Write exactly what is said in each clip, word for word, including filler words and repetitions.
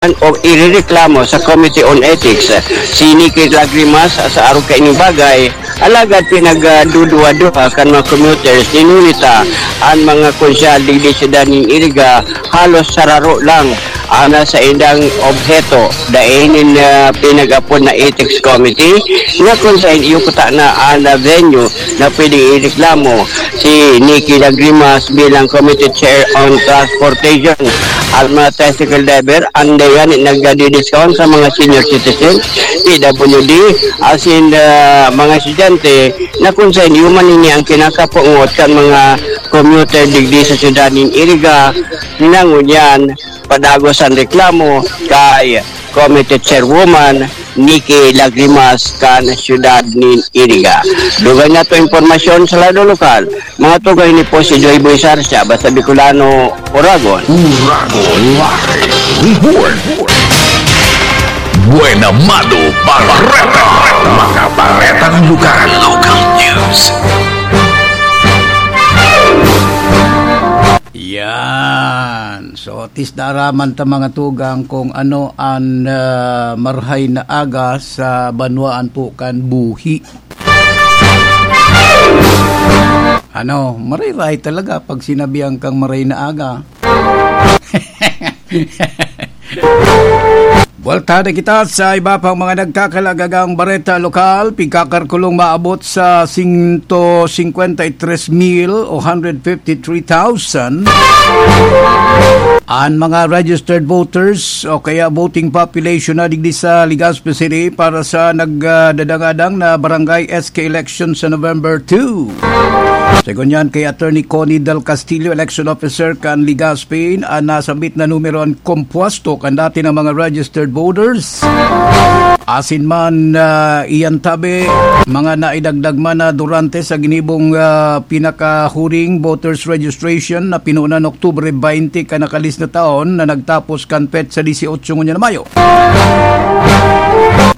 o irereklamo sa Committee on Ethics si Nikki Lagrimas sa arog kaining bagay, alagad pinagduduwa-duwa kan mga commuters ni Nunita an mga konsyahal digdi sa syudad nin Iriga, halos sararo lang ang nasa indang obheto, dai nin, ah, pinag-apod na Ethics Committee, na kung saan iyo kuta na ang venue na pwede ireklamo si Nikki Lagrimas bilang Committee Chair on Transportation. Ang mga tricycle driver, ang dayan nagdadidiscount sa mga senior citizen, P W D, asin, ah, mga estudyante, na kung saan iyo man ini ang kinakapungot kan mga commuter digdi sa syudad nin Iriga, na ngunyan padagos an reklamo kay Committee Chairwoman Nikki Lagrimas kan syudad nin Iriga. Dugay na to impormasyon sa lado lokal. Mga tugay ni po si Joy Boy Sarsia, basta Bicolano, Oragon. Uragon Live Report. Buena Mado Barreta. Mga baretang lugar. Local news. Yan. So, at least naaraman ta, mga tugang, kung ano an, ah, marhay na aga sa banwaan po kan buhi. Ano, marhay-rahay talaga pag sinabihan kang marhay na aga. Buwalta na kita sa iba pang mga nagkakalagagang bareta lokal. Pigkakalkulong maabot sa sento singkwenta y tres mil o hundred fifty-three thousand an mga registered voters o kaya voting population na digdi sa Legazpi City para sa nagdadangadang na barangay S K election sa November two. Segun yan kay Attorney Connie Del Castillo, election officer kan Legazpi, an nasambit na numero an kompuesto kan dati na mga registered voters. Asin man, ah, iyan tabi, mga naidagdag man na durante sa ginibong, ah, pinakahuring voters registration na pinunan Oktubre twenty kan nakalis na taon na nagtapos kan petsa dieciocho ngunyan na Mayo.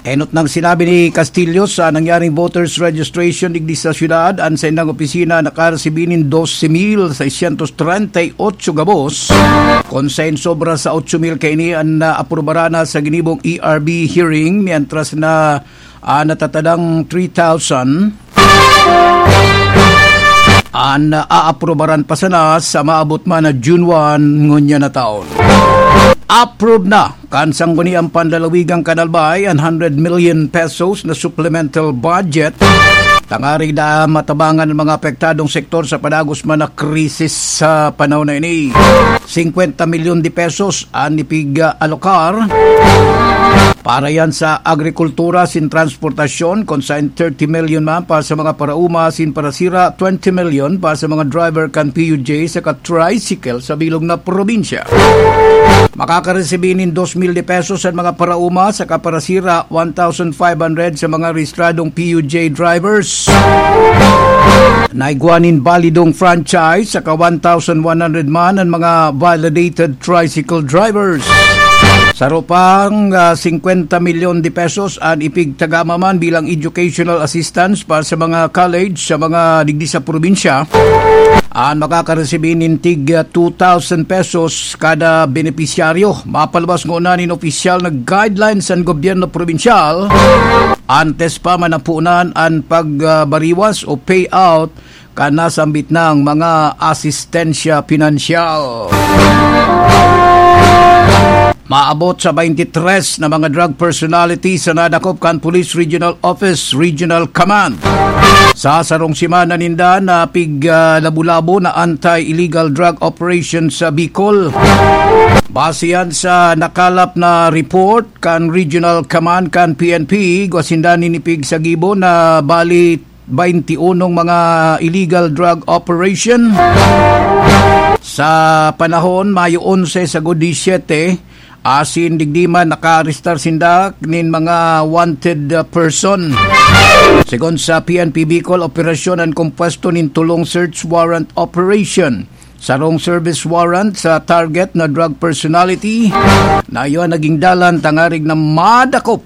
Enot nang sinabi ni Castillo sa nangyaring voters registration digdi sa syudad, an saindang opisina nakaresibi nin doce mil seiscientos treinta y ocho gabos, kun saen sobra sa ocho mil kaini an naaprubaran na sa ginibong E R B hearing, mientras na, ah, natatadang three thousand an aaprubaran pa sana sa maabot man na June one ngunyan na taon. Approve na kan Sangguniang Panlalawigan kan Albay an hundred million pesos na supplemental budget tangarig na matabangan ang mga apektadong sektor sa padagos man na krisis sa panahon na ini. Singkwenta milyon de pesos an ipig-alokar para yan sa agrikultura sin transportasyon, kun saen thirty million man para sa mga paraoma sin parasira, twenty million para sa mga driver kan P U J saka tricycle sa bilog na probinsya. Makakaresibi nin dos mil de pesos an mga paraoma saka parasira, one thousand five hundred sa mga rehistradong P U J drivers. Naigwa nin balidong franchise, saka one thousand one hundred man an mga validated tricycle drivers. Saro pang, ah, singkwenta milyon de pesos an ipigtagama man bilang educational assistance para sa mga college sa mga digdi sa probinsya. An makakaresibi nin tig, ah, two thousand pesos kada benepisyaryo. Mapalabas ngona nin opisyal na guidelines an gobyerno probinsyal antes pa manapunan an pagbariwas o payout kan nasambit nang mga asistensya pinansyal. Maabot sa twenty-three na mga drug personalities na nadakop kan Police Regional Office, Regional Command. Sa sarong semana ninda na pig, ah, labo-labo na anti-illegal drug operation sa Bicol. Base yan sa nakalap na report kan Regional Command kan P N P, igwa sinda nin ipigsagibo na bali twenty-unong mga illegal drug operation. Sa panahon, Mayo onse sagkod disyete, asin digdi man nakaarestar sinda nin mga wanted, uh, person. Segun sa P N P Bicol, operasyon an kompuesto nin tulong search warrant operation. Sarong service warrant sa target na drug personality na iyo an naging dalan tangarig na madakop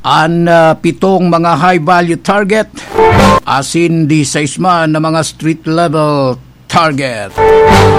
an, ah, pitong mga high-value target, asin disais man na mga street-level target.